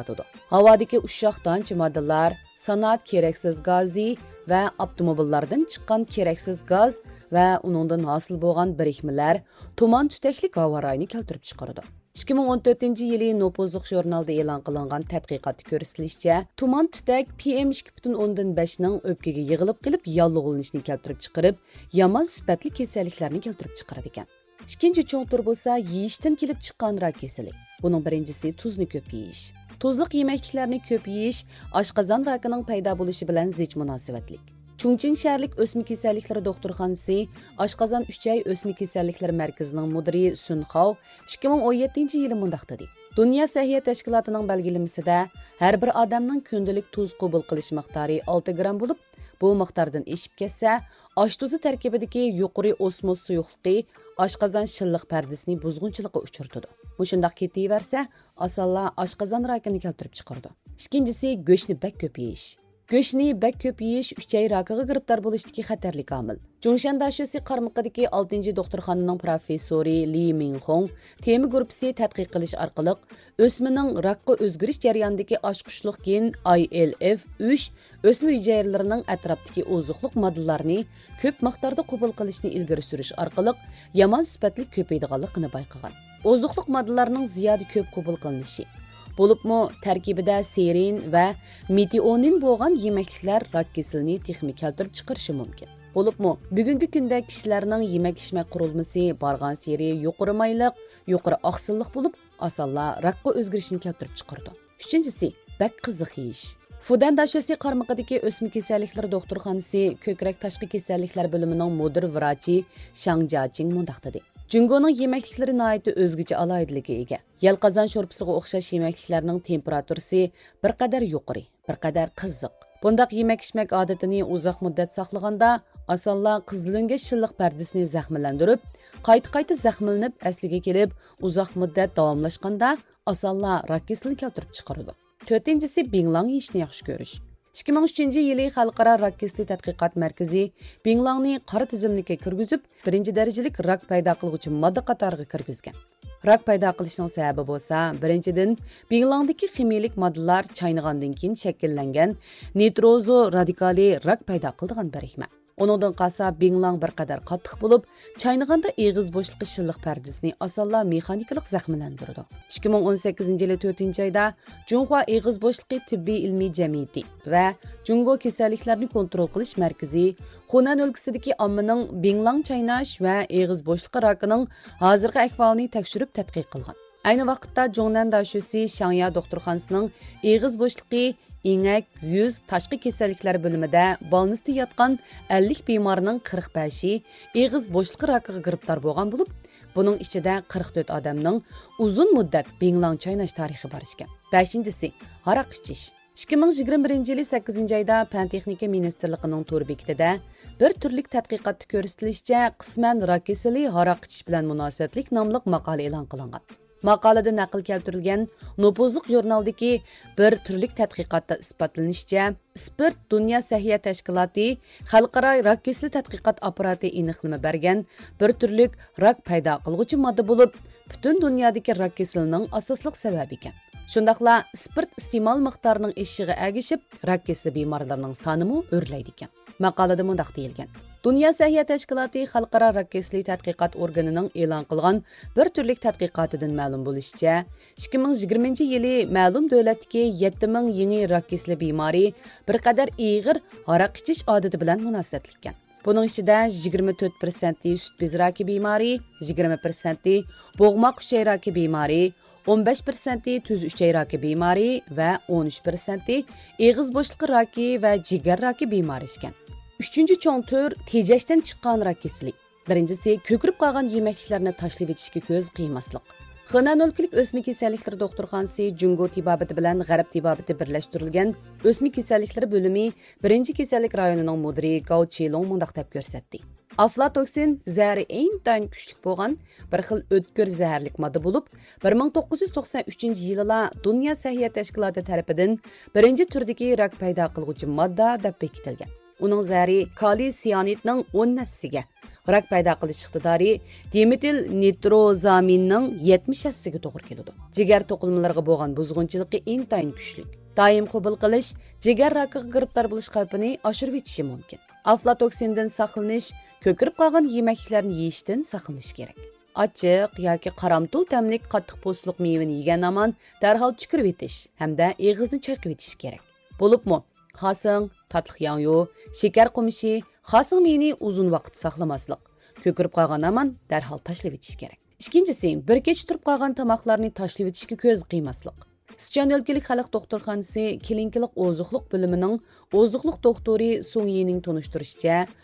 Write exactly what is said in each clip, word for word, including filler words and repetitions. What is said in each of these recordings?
يارىتىدۇ. ھاۋادىكى ئۇششاق دانچە ماددىلار، سانائەت كېرەكسىز گازى ۋە ئاپتوموبىللاردىن چىققان كېرەكسىز گاز ۋە ئۇنىڭدىن ھاسىل بولغان بىرىكمىلەر تۇمان تۈتەكلىك ھاۋا رايىنى كەلتۈرۈپ چىقىرىدۇ. ئىككى مىڭ ئون تۆتىنچى يىلى نوپۇزلۇق ژۇرنالىدا ئېلان قىلىنغان تەتقىقاتتا كۆرسىتىلىشىچە، تۇمان تۈتەك پىئېم ئىككى پۈتۈن ئوندىن بەشنىڭ ئۆپكىگە يىغىلىپ قېلىپ ياللۇغلىنىشنى كەلتۈرۈپ چىقىرىپ، يامان سۈپەتلىك كېسەللىكلەرنى كەلتۈرۈپ چىقىرىدىكەن. ئىككىنچى چوڭ تۈر بولسا يېيىشتىن كېلىپ چىققان راك كېسىلى. بۇنىڭ بىرىنچىسى تۇزنى كۆپ يېيىش. تۇزلۇق يېمەكلىكلەرنى كۆپ يېيىش ئاشقازان راكىنىڭ پەيدا بولۇشى بىلەن زىچ مۇناسىۋەتلىك. چۇڭچىڭ شەھەرلىك ئۆسمە كېسەللىكلىرى دوختۇرخانىسى ئاشقازان ئۈچەي ئۆسمە كېسەللىكلىرى مەركىزىنىڭ مۇدىرى سۈن خاۋ ئىككى مىڭ ئون يەتتىنچى يىلى مۇنداق دېدى: دۇنيا سەھىيە تەشكىلاتىنىڭ بەلگىلىمىسىدە، ھەر بىر ئادەمنىڭ كۈندىلىك تۇز قوبۇل قىلىش مىقدارى ئالتە گرام بولۇپ، بۇ مىقداردىن ئېشىپ كەتسە، ئاش تۇزى تەركىبىدىكى يۇقىرى ئوسموس سۇيۇقلۇقى ئاشقازان شىللىق پەردىسىنى بۇزغۇنچىلىققا ئۇچرىتىدۇ. مۇشۇنداق كېتىۋەرسە، ئاسانلا ئاشقازان راكىنى كەلتۈرۈپ چىقىرىدۇ. ئىككىنچىسى، گۆشنى بەك كۆپ يېيىش. گۆشنى بەك كۆپ يېيىش ئۈچەي راكىغا گىرىپتار بولۇشتىكى خەتەرلىك ئامىل. جۇڭشەن داشۆسى قارمىقىدىكى ئالتىنچى دوختۇرخانىنىڭ پروفېسسورى لى مىڭخۇڭ تېما گۇرۇپپىسى تەتقىق قىلىش ئارقىلىق، ئۆسمىنىڭ راكقا ئۆزگىرىش جەريانىدىكى ئاچقۇچلۇق گېن ئاي ئېل ئېف ئۈچ ئۆسمە ھۈجەيرىلىرىنىڭ ئەتراپتىكى ئوزۇقلۇق ماددىلارنى كۆپ مىقداردا قوبۇل قىلىشنى ئىلگىرى سۈرۈش ئارقىلىق يامان سۈپەتلىك كۆپىيىدىغانلىقىنى بايقىغان. ئوزۇقلۇق ماددىلارنىڭ زىيادە كۆپ قوبۇل قىلىنىشى، بولۇپمۇ تەركىبىدە سېرىن ۋە مېتىئونىن بولغان يېمەكلىكلەر راك كېسىلىنى تېخىمۇ كەلتۈرۈپ چىقىرىشى مۇمكىن. بولۇپمۇ بۈگۈنكى كۈندە كىشىلەرنىڭ يېمەك-ئىچمەك قۇرۇلمىسى بارغانسېرى يۇقىرى مايلىق، يۇقىرى ئاقسىللىق بولۇپ، ئاسانلا راكقا ئۆزگىرىشنى كەلتۈرۈپ چىقىرىدۇ. ئۈچىنچىسى، بەك قىزىق يېيىش. فۇدەن داشۆسى قارمىقىدىكى ئۆسمە كېسەللىكلىرى دوختۇرخانىسى كۆكرەك تاشقى كېسەللىكلەر بۆلۈمىنىڭ مۇدىر ۋراچى شاڭ جياچىڭ مۇنداق دېدى: جۇڭگونىڭ يېمەكلىكلىرى ناھايىتى ئۆزگىچە ئالاھىدىلىككە ئىگە. يەلقازان شورپىسىغا ئوخشاش يېمەكلىكلەرنىڭ تېمپېراتۇرىسى بىر قەدەر يۇقىرى، بىر قەدەر قىزىق. بۇنداق يېمەك-ئىچمەك ئادىتىنى ئۇزاق مۇددەت ساقلىغاندا، ئاسانلا قىزىلۆڭگەچ شىللىق پەردىسىنى زەخىملەندۈرۈپ، قايتا-قايتا زەخىملىنىپ ئەسلىگە كېلىپ، ئۇزاق مۇددەت داۋاملاشقاندا، ئاسانلا راك كېسىلىنى كەلتۈرۈپ چىقىرىدۇ. تۆتىنچىسى، بىڭلاڭ يېيىشنى ياخشى كۆرۈش. ئىككى مىڭ ئۈچىنچى يىلى خەلقئارا راك كېسىلى تەتقىقات مەركىزى بىڭلاڭنى قارا تىزىملىككە كىرگۈزۈپ، بىرىنچى دەرىجىلىك راك پەيدا قىلغۇچى ماددا قاتارىغا كىرگۈزگەن. راك پەيدا قىلىشنىڭ سەۋەبى بولسا، بىرىنچىدىن، بىڭلاڭدىكى خىمىيىلىك ماددىلار چاينىغاندىن كېيىن شەكىللەنگەن نىتروزو رادىكالى راك پەيدا قىلىدىغان بىرىكمە. ئۇنىڭدىن قالسا، بىڭلاڭ بىر قەدەر قاتتىق بولۇپ، چاينىغاندا ئېغىز بوشلۇقى شىللىق پەردىسىنى ئاسانلا مېخانىكىلىق زەخىملەندۈرىدۇ. ئىككى مىڭ ئون سەككىزىنچى يىلى تۆتىنچى ئايدا جۇڭخۇا ئېغىز بوشلۇقى تېببىي ئىلمىي جەمئىيىتى ۋە جۇڭگو كېسەللىكلەرنى كونترول قىلىش مەركىزى خۇنەن ئۆلكىسىدىكى ئاممىنىڭ بىڭلاڭ چايناش ۋە ئېغىز بوشلۇقى راكىنىڭ ھازىرقى ئەھۋالىنى تەكشۈرۈپ تەتقىق قىلغان. ئەينى ۋاقىتتا جۇڭنەن داشۆسى شاڭيا دوختۇرخانىسىنىڭ ئېغىز بوشلۇقى، ئېڭەك، يۈز، تاشقى كېسەللىكلەر بۆلۈمىدە بالنىستا ياتقان ئەللىك بىمارنىڭ قىرىق بەشى ئېغىز بوشلۇقى راكىغا گىرىپتار بولغان بولۇپ، بۇنىڭ ئىچىدە قىرىق تۆت ئادەمنىڭ ئۇزۇن مۇددەت بىڭلاڭ چايناش تارىخى بار ئىكەن. بەشىنچىسى، ھاراق ئىچىش. ئىككى مىڭ يىگىرمە بىرىنچى يىلى سەككىزىنچى ئايدا پەن تېخنىكا مىنىستىرلىقىنىڭ تور بېكىتىدە بىر تۈرلۈك تەتقىقاتتا كۆرسىتىلىشىچە، قىسمەن راك كېسىلى ھاراق ئىچىش بىلەن مۇناسىۋەتلىك ناملىق ماقالە ئېلان قىلىنغان. ماقالىدە نەقىل كەلتۈرۈلگەن نوپۇزلۇق ژۇرنالدىكى بىر تۈرلۈك تەتقىقاتتا ئىسپاتلىنىشىچە، ئىسپىرت دۇنيا سەھىيە تەشكىلاتى خەلقئارا راك كېسىلى تەتقىقات ئاپپاراتى ئېنىقلىما بەرگەن بىر تۈرلۈك راك پەيدا قىلغۇچى ماددا بولۇپ، پۈتۈن دۇنيادىكى راك كېسىلىنىڭ ئاساسلىق سەۋەبى ئىكەن. شۇنداقلا ئىسپىرت ئىستېمال مىقدارىنىڭ ئېشىشىغا ئەگىشىپ، راك كېسىلى بىمارلىرىنىڭ سانىمۇ ئۆرلەيدىكەن. ماقالىدە مۇنداق دېيىلگەن: دۇنيا سەھىيە تەشكىلاتى خەلقئارا راك كېسىلى تەتقىقات ئورگىنىنىڭ ئېلان قىلغان بىر تۈرلۈك تەتقىقاتىدىن مەلۇم بولۇشىچە، ئىككى مىڭ يىگىرمىنچى يىلى مەلۇم دۆلەتتىكى يەتتە مىڭ يېڭى راك كېسىلى بىمارى بىر قەدەر ئېغىر ھاراق ئىچىش ئادىتى بىلەن مۇناسىۋەتلىككەن. بۇنىڭ ئىچىدە يىگىرمە تۆت پىرسەنتى سۈت بېزى راكى بىمارى، يىگىرمە پىرسەنتى بوغماق ئۈچەي راكى بىمارى، ئون بەش پىرسەنتى تۈز ئۈچەي راكى بىمارى ۋە ئون ئۈچ پىرسەنتى ئېغىز بوشلۇقى راكى ۋە جىگەر راكى بىمارى ئىكەن. ئۈچىنچى چوڭ تۈر تېجەشتىن چىققان راك كېسىلى. بىرىنچىسى، كۆكىرىپ قالغان يېمەكلىكلەرنى تاشلىۋېتىشكە كۆز قىيماسلىق. خېنەن ئۆلكىلىك ئۆسمە كېسەللىكلىرى دوختۇرخانىسى جۇڭگو تېبابىتى بىلەن غەرب تېبابىتى بىرلەشتۈرۈلگەن ئۆسمە كېسەللىكلىرى بۆلۈمى بىرىنچى كېسەللىك رايونىنىڭ مۇدىرى گاۋ چىلۇڭ مۇنداق دەپ كۆرسەتتى. ئافلاتوكسىن زەھىرى ئىنتايىن كۈچلۈك بولغان بىر خىل ئۆتكۈر زەھەرلىك ماددا بولۇپ، بىر مىڭ توققۇز يۈز توقسان ئۈچىنچى يىلىلا دۇنيا سەھىيە تەشكىلاتى تەرىپىدىن بىرىنچى تۈردىكى راك پەيدا قىلغۇچى ماددا دەپ بېكىتىلگەن. ئۇنىڭ زەھىرى كالىي سىيانىدنىڭ ئون ھەسسىسىگە، راك پەيدا قىلىش ئىقتىدارى دىمېتىل نىتروزامىننىڭ يەتمىش ھەسسىسىگە توغرا كېلىدۇ. جىگەر توقۇلمىلىرىغا بولغان بۇزغۇنچىلىقى ئىنتايىن كۈچلۈك. دائىم قوبۇل قىلىش جىگەر راكىغا گىرىپتار بولۇش خەۋپىنى ئاشۇرۇۋېتىشى مۇمكىن. ئافلاتوكسىندىن ساقلىنىش، كۆكىرىپ قالغان يېمەكلىكلەرنى يېيىشتىن ساقلىنىش كېرەك. ئاچچىق ياكى قارامتۇل تەملىك قاتتىق پوستلۇق مېۋىنى يېگەن ھامان دەرھال چۈكۈرۈۋېتىش ھەمدە ئېغىزنى چايقىۋېتىش كېرەك. بولۇپمۇ خاسىڭ، تاتلىق ياڭيۇ، شېكەر قومۇشى، خاسىڭ مېيىنى ئۇزۇن ۋاقىت ساقلىماسلىق، كۆكىرىپ قالغان ھامان دەرھال تاشلىۋېتىش كېرەك. ئىككىنچىسى، بىر كېچە تۇرۇپ قالغان تاماقلارنى تاشلىۋېتىشكە كۆز قىيماسلىق. سىچۈەن ئۆلكىلىك خەلق دوختۇرخانىسى كلىنىكىلىق ئوزۇقلۇق بۆلۈمىنىڭ ئوزۇقلۇق دوختۇرى سۇڭ يىنىڭ تونۇشتۇرۇشىچە،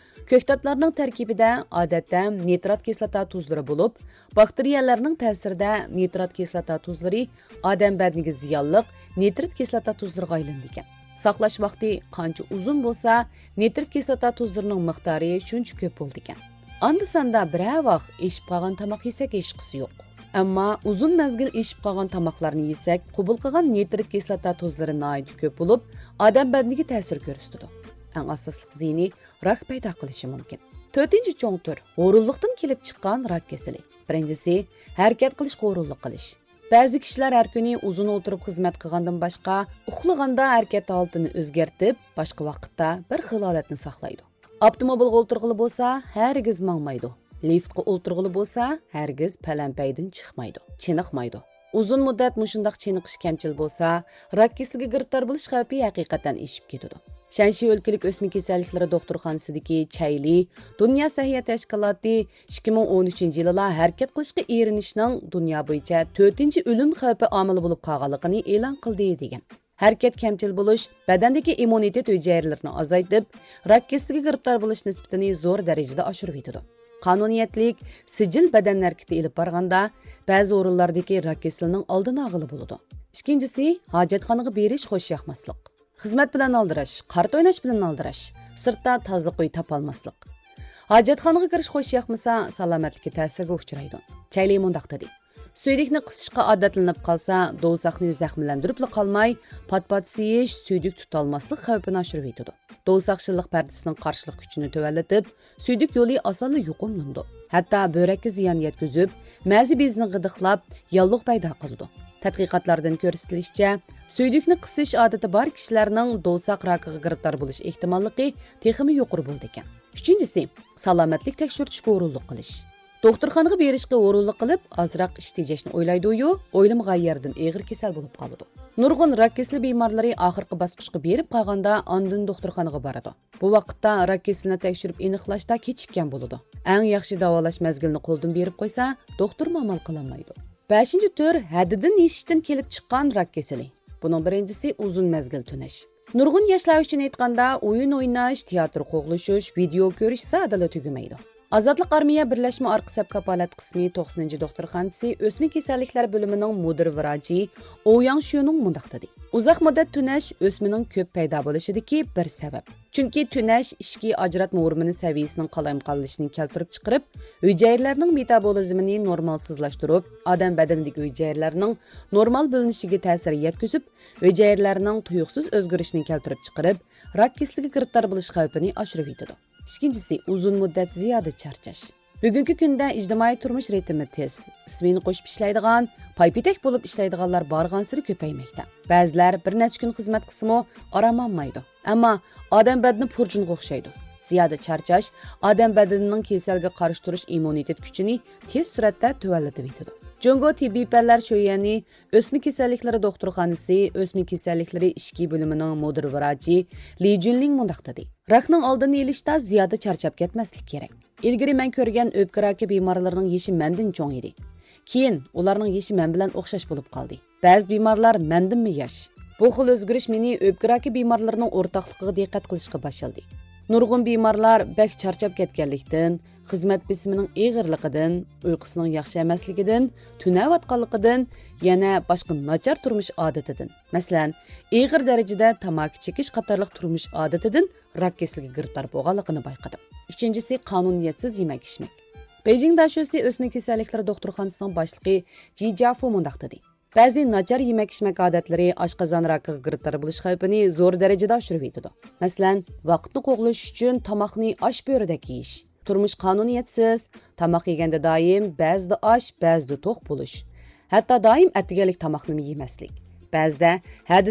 كۆكتاتلارنىڭ تەركىبىدە ئادەتتە نىترات كىسلاتا تۇزلىرى بولۇپ، باكتېرىيەلەرنىڭ تەسىرىدە نىترات كىسلاتا تۇزلىرى ئادەم بەدىنىگە زىيانلىق نىترىت كىسلاتا تۇزلىرىغا ئايلىنىدىكەن. ساقلاش ۋاقتى قانچە ئۇزۇن بولسا، نىترىت كىسلاتا تۇزلىرىنىڭ مىقدارى شۇنچە كۆپ بولىدىكەن. ئاندا-ساندا بىرەر ۋاق ئېشىپ قالغان تاماق يېسەك ھېچقىسى يوق. ئەمما ئۇزۇن مەزگىل ئېشىپ قالغان تاماقلارنى يېسەك، قوبۇل قىلغان نىترىت كىسلاتا تۇزلىرى ناھايىتى كۆپ بولۇپ، ئادەم بەدىنىگە تەسىر كۆرسىتىدۇ. ئەڭ ئاساسلىق زىيىنى راك پەيدا قىلىشى مۇمكىن. تۆتىنچى چوڭ تۈر ھورۇنلۇقتىن كېلىپ چىققان راك كېسىلى. بىرىنچىسى، ھەرىكەت قىلىشقا ھورۇنلۇق قىلىش. بەزى كىشىلەر ھەر كۈنى ئۇزۇن ئولتۇرۇپ خىزمەت قىلغاندىن باشقا، ئۇخلىغاندا ھەرىكەت ھالىتىنى ئۆزگەرتىپ، باشقا ۋاقىتتا بىر خىل ھالەتنى ساقلايدۇ. ئاپتوموبىلغا ئولتۇرغىلى بولسا، ھەرگىز ماڭمايدۇ. لىفتقا ئولتۇرغىلى بولسا، ھەرگىز پەلەمپەيدىن چىقمايدۇ، چېنىقمايدۇ. ئۇزۇن مۇددەت مۇشۇنداق چېنىقىش كەمچىل بولسا، راك كېسىلىگە گىرىپتار بولۇش خەۋپى ھەقىقەتەن ئېشىپ كېتىدۇ. شەنشى ئۆلكىلىك ئۆسمە كېسەللىكلىرى دوختۇرخانىسىدىكى چەيلى دۇنيا سەھىيە تەشكىلاتى ئىككى مىڭ ئون ئۈچىنچى يىلىلا ھەرىكەت قىلىشقا ئېرىنىشنىڭ دۇنيا بويىچە تۆتىنچى ئۆلۈم خەۋپى ئامىلى بولۇپ قالغانلىقىنى ئېلان قىلدى، دېگەن. ھەرىكەت كەمچىل بولۇش بەدەندىكى ئىممۇنىتېت ھۈجەيرىلىرىنى ئازايتىپ، راك كېسىلىگە گىرىپتار بولۇش نىسبىتىنى زور دەرىجىدە ئاشۇرۇۋېتىدۇ. قانۇنىيەتلىك، سىجىل بەدەن ھەرىكىتى ئېلىپ بارغاندا، بەزى ئورۇنلاردىكى راك كېسىلىنىڭ ئالدىنى ئالغىلى بولىدۇ. ئىككىنچىسى، ھاجەتخانىغا بېرىش خۇش ياقماسلىق. خىزمەت بىلەن ئالدىراش، قارتا ئويناش بىلەن ئالدىراش، سىرتتا تازىلىق ئۆي تاپالماسلىق. ھاجەتخانىغا كىرىش خۇش ياقمىسا، سالامەتلىككە تەسىرگە ئۇچرايدۇ. چەيلى مۇنداق دېدى: سۈيدۈكنى قىسىشقا ئادەتلىنىپ قالسا، دوۋساقنى زەخىملەندۈرۈپلا قالماي، پات-پات سىيىش، سۈيدۈك تۇتالماسلىق خەۋپىنى ئاشۇرۇۋېتىدۇ. دوۋساق شىللىق پەردىسىنىڭ قارشىلىق كۈچىنى تۆۋەنلىتىپ، سۈيدۈك يولى ئاسانلا يۇقۇملىنىدۇ. ھەتتا بۆرەككە زىيان يەتكۈزۈپ، مەزە بېزىنى غىدىقلاپ، ياللۇغ پەيدا قىلىدۇ. تەتقىقاتلاردىن كۆرسىتىلىشىچە، سۈيدۈكنى قىسىش ئادىتى بار كىشىلەرنىڭ دوۋساق راكىغا گىرىپتار بولۇش ئېھتىماللىقى تېخىمۇ يۇقىرى بولىدىكەن. ئۈچىنچىسى، سالامەتلىك تەكشۈرتۈشكە ھۇرۇنلۇق قىلىش. دوختۇرخانىغا بېرىشقا ھۇرۇنلۇق قىلىپ، ئازراق ئىش تېجەشنى ئويلايدۇ-يۇ، ئويلىمىغان يەردىن ئېغىر كېسەل بولۇپ قالىدۇ. نۇرغۇن راك كېسىلى بىمارلىرى ئاخىرقى باسقۇچقا بېرىپ قالغاندا، ئاندىن دوختۇرخانىغا بارىدۇ. بۇ ۋاقىتتا راك كېسىلىنى تەكشۈرۈپ ئېنىقلاشتا كېچىككەن بولىدۇ. ئەڭ ياخشى داۋالاش مەزگىلىنى قولدىن بېرىپ قويسا، دوختۇرمۇ ئامال قىلالمايدۇ. بەشىنچى تۈر ھەددىدىن ئېشىشتىن كېلىپ چىققان راك كېسىلى. بۇنىڭ بىرىنچىسى ئۇزۇن مەزگىل تۈنەش. نۇرغۇن ياشلار ئۈچۈن ئېيتقاندا، ئويۇن ئويناش، تىياتىر قوغلىشىش، ۋىدېئو كۆرۈش زادىلا تۈگىمەيدۇ. ئازادلىق ئارمىيە بىرلەشمە ئارقا سەپ كاپالەت قىسمى توقسىنىنچى دوختۇرخانىسى ئۆسمە كېسەللىكلەر بۆلۈمىنىڭ مۇدىر ۋراچى ئو ياڭشۈنىڭ مۇنداق دېدى: ئۇزاق مۇددەت تۈنەش ئۆسمىنىڭ كۆپ پەيدا بولۇشىدىكى بىر سەۋەب. چۈنكى تۈنەش ئىچكى ئاجراتما ھورمۇنى سەۋىيىسىنىڭ قالايمىقانلىشىشىنى كەلتۈرۈپ چىقىرىپ، ھۈجەيرىلەرنىڭ مېتابولىزمىنى نورمالسىزلاشتۇرۇپ، ئادەم بەدىنىدىكى ھۈجەيرىلەرنىڭ نورمال بۆلۈنۈشىگە تەسىر يەتكۈزۈپ، ھۈجەيرىلەرنىڭ تۇيۇقسىز ئۆزگىرىشىنى كەلتۈرۈپ چىقىرىپ، راك كېسىلىگە گىرىپتار بولۇش خەۋپىنى ئاشۇرۇۋېتىدۇ. ئىككىنچىسى، ئۇزۇن مۇددەت زىيادە چارچاش. بۈگۈنكى كۈندە ئىجتىمائىي تۇرمۇش رىتىمى تېز، ئىسمېنا قوشۇپ ئىشلەيدىغان، پايپېتەك بولۇپ ئىشلەيدىغانلار بارغانسېرى كۆپەيمەكتە. بەزىلەر بىر نەچچە كۈن خىزمەت قىلسىمۇ ئارام ئالمايدۇ. ئەمما ئادەم بەدىنى پۇرچۇنغا ئوخشايدۇ. زىيادە چارچاش ئادەم بەدىنىنىڭ كېسەلگە قارشى تۇرۇش ئىممۇنىتېت كۈچىنى تېز سۈرئەتتە تۆۋەنلىتىۋېتىدۇ. جۇڭگو تېببىي پەنلەر شۆيۈەنى ئۆسمە كېسەللىكلىرى دوختۇرخانىسى ئۆسمە كېسەللىكلىرى ئىچكى بۆلۈمىنىڭ مۇدىر ۋراچى لى جۈنلىڭ مۇنداق دېدى: راكنىڭ ئالدىنى ئېلىشتا زىيادە چارچاپ كەتمەسلىك كېرەك. ئىلگىرى مەن كۆرگەن ئۆپكە راكى بىمارلىرىنىڭ يېشى مەندىن چوڭ ئىدى. كېيىن ئۇلارنىڭ يېشى مەن بىلەن ئوخشاش بولۇپ قالدى. بەزى بىمارلار مەندىنمۇ ياش. بۇ خىل ئۆزگىرىش مېنى ئۆپكە راكى بىمارلىرىنىڭ ئورتاقلىقىغا دىققەت قىلىشقا باشلىدى. نۇرغۇن بىمارلار بەك چارچاپ كەتكەنلىكتىن، خىزمەت بېسىمىنىڭ ئېغىرلىقىدىن، ئۇيقۇسىنىڭ ياخشى ئەمەسلىكىدىن، تۈنەۋاتقانلىقىدىن، يەنە باشقا ناچار تۇرمۇش ئادىتىدىن، مەسىلەن، ئېغىر دەرىجىدە تاماكا چېكىش قاتارلىق تۇرمۇش ئادىتىدىن راك كېسىلىگە گىرىپتار بولغانلىقىنى بايقىدىم. ئۈچىنچىسى، قانۇنىيەتسىز يېمەك-ئىچمەك. بېيجىڭ داشۆسى ئۆسمە كېسەللىكلىرى دوختۇرخانىسىنىڭ باشلىقى جى جيافۇ مۇنداق دېدى: بەزى ناچار يېمەك-ئىچمەك ئادەتلىرى ئاشقازان راكىغا گىرىپتار بولۇش خەۋپىنى زور دەرىجىدە ئاشۇرۇۋېتىدۇ. مەسىلەن، ۋاقىتنى قوغلىشىش ئۈچۈن تاماقنى ئاش بۆرىدەك يېيىش، تۇرمۇش قانۇنىيەتسىز، تاماق يېگەندە دائىم بەزىدە ئاش، بەزىدە توق بولۇش. ھەتتا دائىم ئەتىگەنلىك تاماقنىمۇ يېمەسلىك. بەزىدە ھەددىدىن